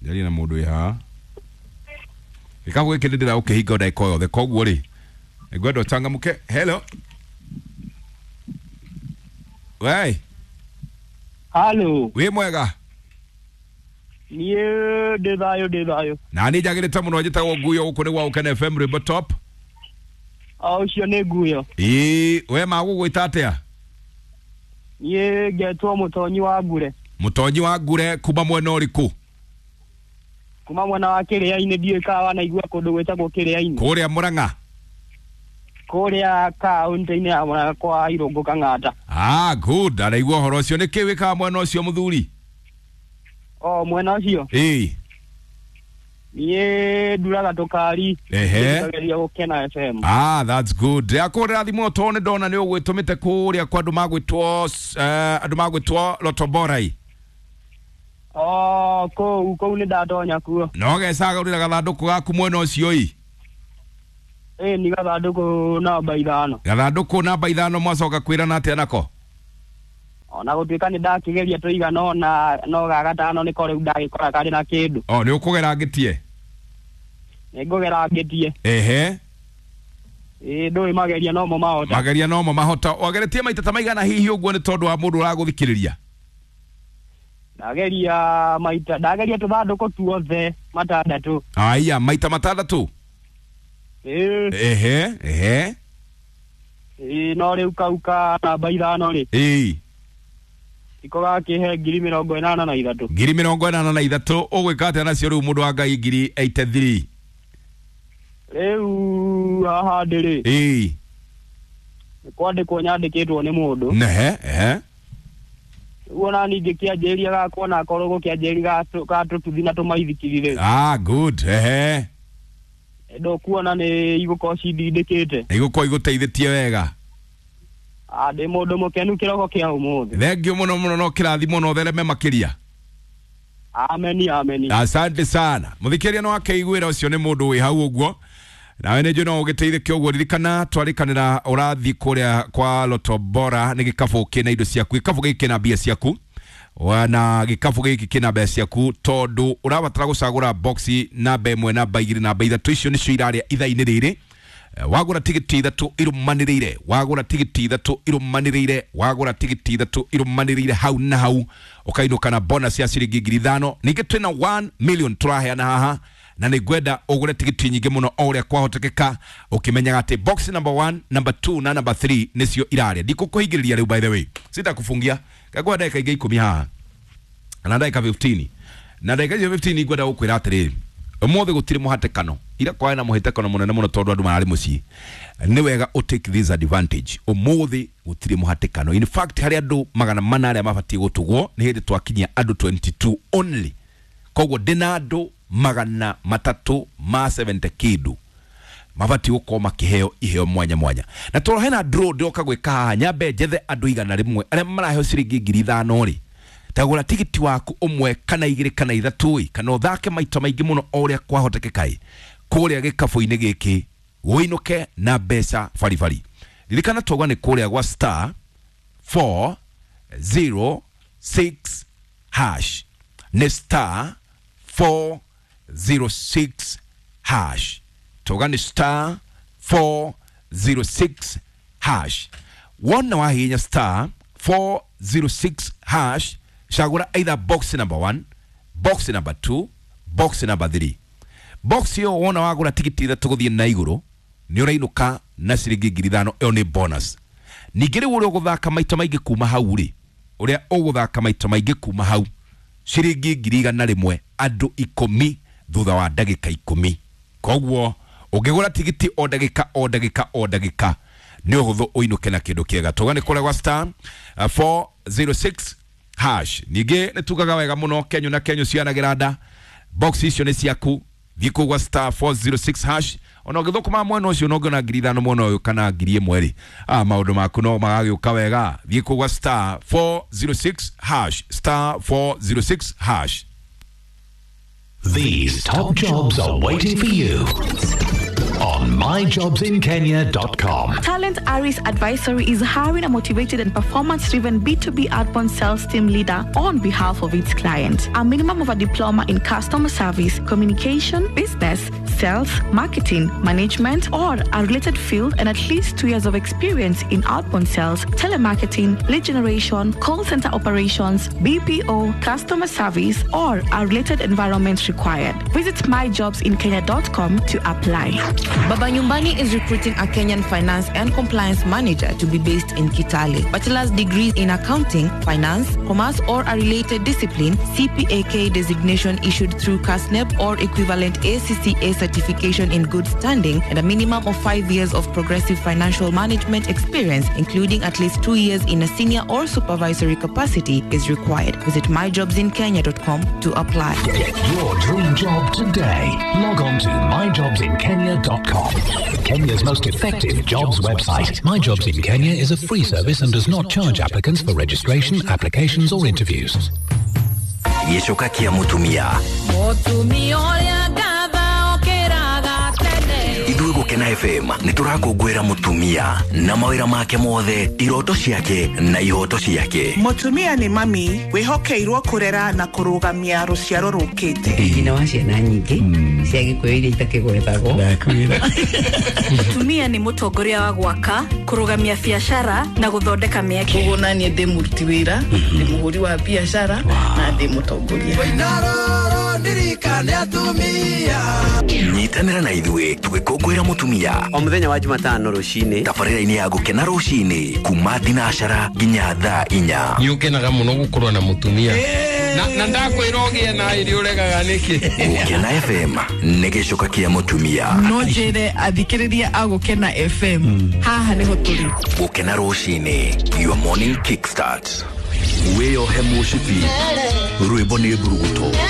Njarie na mũndũ wĩ haha. Gĩkabũ gĩkĩ nĩ ndĩragũkĩhinga o ndagĩka o yothe, koguo rĩ ngwenda ũcangamũke. Hello. Wei. Halo. Wĩ mwega? Niĩ ndĩ thayũ, ndĩ thayũ. Na niĩ njagĩrĩte mũno, njĩtagwo Nguyo, gũkũ nĩ gwa Gũkena FM, Rwĩmbo Top. O ũcio nĩ Nguyo. Ĩĩ, we magũgwĩta atĩa? Niĩ ngetwo Mũtonyi wa Ngure. Mũtonyi wa Ngure kuma mwena ũrĩkũ? Kuma mwena wa Kĩrĩa-inĩ, ndiũĩ kana wanaigua kũndũ gwĩtagwo Kĩrĩa-inĩ. Kũrĩa Mũrang'a? Kũrĩa kaũntĩ-inĩ ya Mũrang'a kwa Irũngũ Kang'ata. Ah, good, araigua ũhoro ũcio. Nĩ kĩ wĩkaga mwena ũcio, mũthuri? O mwena ũcio? Ĩĩ. Niĩ nduraga tũkari. Ehe. Ngeria Gũkena FM. Ah, that's good. Ndĩrakũhũrĩra thimũ tondũ nĩ ndona nĩ ũgwĩtũmĩte kũrĩa kwa andũ magwĩtwo andũ magwĩtwo Lotoborai. O kũu kũu nĩ ndatonya kuo. No gecagũrĩra gathandũkũ gaku mwena ũcio ĩ? Ĩ, ni gathandũkũ namba 5. Gathandũkũ namba 5, mwacoka kwĩrana atĩa nako? Ona gũtuĩka nĩ ndakĩgeria tũigana ona no ga gatano nĩko rĩu ndagĩkora karĩ na kĩndũ. O nĩ ũkũgera ngĩtie? Nĩ ngũgera ngĩtie. Ehe. Ĩ, ndũĩ mageria nomo mahota. Mageria nomo mahota. Wageretie maita ta maigana hihi ũguo, nĩ tondũ wa mũndũ ũragũthikĩrĩria? Ndageria maita, ndageria tũthandũkũ tuothe matandatũ. Aya, maita matandatũ? Ĩ. Ehe ehe. Ĩ, no rĩu kau ka namba 5 rĩ. Ĩ. Iko gakĩhe 83,000. 83,000, ũgwĩka atĩa nacio rĩu, mũndũ wa Ngai, 83,000? Rĩu haha ndĩrĩ. Ĩ. Nĩ kwandĩkwo nyandĩkĩtwo nĩ mũndũ. Nehe ehe. Rĩu ona ningĩ kĩanjĩrĩria gakwa na akorwo gũkĩanjĩrĩria ga tũtuthi na tũmaithikiri rĩ. Ah, good, ehe. Ndũkuona nĩ igũkorwo cindindĩkĩte. Igũkorwo igũteithĩtie wega. Ah, ndĩ mũndũ mũkenu kĩroko kĩa ũmũthĩ. Thengiũ mũno mũno, no kĩrathimo no thereme makĩria. Ameni, ameni. Asante sana. Mũthikĩria no akeiguĩra, ũcio nĩ mũndũ wĩ hau ũguo, nawe nĩ njũĩ no ũgĩteithĩke ũguo. Ririkana twarĩkanĩra ũrathiĩ kũrĩa kwa Loto Bora, nĩ gĩkabũ kĩna indo ciaku, gĩkabũ gĩkĩ kĩna mbia ciaku na gĩkabũ gĩkĩ kĩna mbeca ciaku, tondũ ũrabatara gũcagũra boxi namba 1, namba 2, namba 3, icio nĩcio irarĩa ithaa-inĩ rĩrĩ. Wagũra tigiti 3 irũmanĩrĩire, wagũra tigiti 3 irũmanĩrĩire, wagũra tigiti 3 irũmanĩrĩire, hau na hau ũkainũka na bonus ya ciringi 5,000. Ningĩ twĩna 1 million tũraheana haha, na nĩ ngwenda ũgũre tigiti nyingĩ mũno o ũrĩa kwahotekeka, ũkĩmenyaga atĩ box number 1, number 2 na number 3 nĩcio irarĩa. Ndikũkũhingĩrĩria rĩu, by the way, sitakufungia ngakwa ndagĩka ingĩ 10 haha na ndagĩka 15, na ndagĩka icio 15 ngwenda gũkwĩra atĩrĩrĩ, ũmũthĩ gũtirĩ mũhatĩkano, ira kwarĩ na mũhatĩkano mũnene mũno tondũ andũ mararĩ mũciĩ. Nĩ wega ũ take this advantage, ũmũthĩ gũtirĩ mũhatĩkano. In fact, harĩ andũ 400 arĩa mabatiĩ gũtugwo, nĩ hĩndĩ twakinyia andũ 22 only, koguo ndĩna andũ 370 kĩndũ mabatiĩ gũkorwo makĩheo iheo mwanya mwanya. Na tondũ hena draw ndĩroka gwĩka haha, nyambe njethe andũ 100 arĩa maraheo ciringi 5,000 rĩ, tagũra tigiti waku 1 kana 2 kana 3 ĩ, kana ũthake maita maingĩ mũno o ũrĩa kwahotekeka ĩ, kũrĩa gĩkabũ-inĩ gĩkĩ ũinũke na mbeca baribari. Ririkana twauga nĩ kũrĩa gwa star 406 hash, nĩ star 406 hash, twauga nĩ star 406 hash. Wona wahihinya star 406 hash, cagũra either box number 1, box number 2, box number 3. Box ĩyo wona wagũra tigiti 3 gũthiĩ na igũrũ, nĩ ũrainũka na ciringi 5,000, ĩyo nĩ bonus. Ningĩ rĩu ũrĩa ũgũthaka maita maingĩ kuma hau rĩ, ũrĩa ũgũthaka maita maingĩ kuma hau, ciringi 100,000 andũ 10 thutha wa ndagĩka 10. Koguo ũngĩgũra tigiti o ndagĩka o ndagĩka o ndagĩka, nĩ ũhũthũ ũinũke na kĩndũ kĩega. Tuga nĩ kũrĩa gwa star 406 hash. Ningĩ nĩ tugaga wega mũno, kenyũ na kenyũ cianagĩra nda, box icio nĩ ciaku, thiĩ kũu gwa star 406 hash. Ona ũgĩthũkũma mwena ũcio no ũngĩona 5,000 mwena ũyũ kana 1,000 rĩ, ah, maũndũ maku no magagĩũka wega. Thiĩ kũu gwa star 406 hash, star 406 hash. These top jobs are waiting for you on on myjobsinkenya.com. Talent Aris Advisory is hiring a motivated and performance-driven B2B outbound sales team leader on behalf of its client. A minimum of a diploma in customer service, communication, business, sales, marketing, management, or a related field, and at least 2 years of experience in outbound sales, telemarketing, lead generation, call center operations, BPO, customer service, or a related environment required. Visit myjobsinkenya.com to apply. Baba Nyumbani is recruiting a Kenyan finance and compliance manager to be based in Kitale. Bachelor's degree in accounting, finance, commerce, or a related discipline, CPAK designation issued through KASNEB or equivalent ACCA certification in good standing, and a minimum of 5 years of progressive financial management experience, including at least 2 years in a senior or supervisory capacity, is required. Visit myjobsinkenya.com to apply. Get your dream job today. Log on to myjobsinkenya.com. Kenya's most effective jobs website. My Jobs in Kenya is a free service and does not charge applicants for registration, applications, or interviews. Gĩcoka kĩa mũtumia. Mũtumia ũrĩa ngatha okĩraga tene. Ithuĩ Gũkena FM nĩ tũrakũngũĩra mũtumia na mawĩra make mothe, iroto ciake na ihoto ciake. Mũtumia nĩ mami wĩhokeirwo kũrera na kũrũgamia rũciaro rũkĩte. Nyina wa ciana nyingĩ cia gĩkũyũ iria itakĩgwetagwo. Mũtumia nĩ mũtongoria wa gwaka, kũrũgamia biacara na gũthondeka mĩeke. Koguo naniĩ ndĩ mũruti wĩra, ndĩ mũhũri wa biacara na ndĩ mũtongoria. Nyitanĩra na ithuĩ tũgĩkũngũĩra mũtumia o mũthenya wa Jumatano rũcinĩ tabarĩra-inĩ ya Gũkena rũcinĩ kuma thinacara nginya thaa 4. Nĩ ũkenaga mũno gũkorwo na mũtumia na ndakwĩra ũgĩe na ĩrĩ ũregaga nĩkĩ. Gũkena FM nĩ gĩcoka kĩa mũtumia. No njĩre athikĩrĩria a Gũkena FM haha nĩho tũrĩ. Gũkena rũcinĩ, your morning kickstart. Wĩyohe mũcibi, rwĩmbo nĩ mburuguto.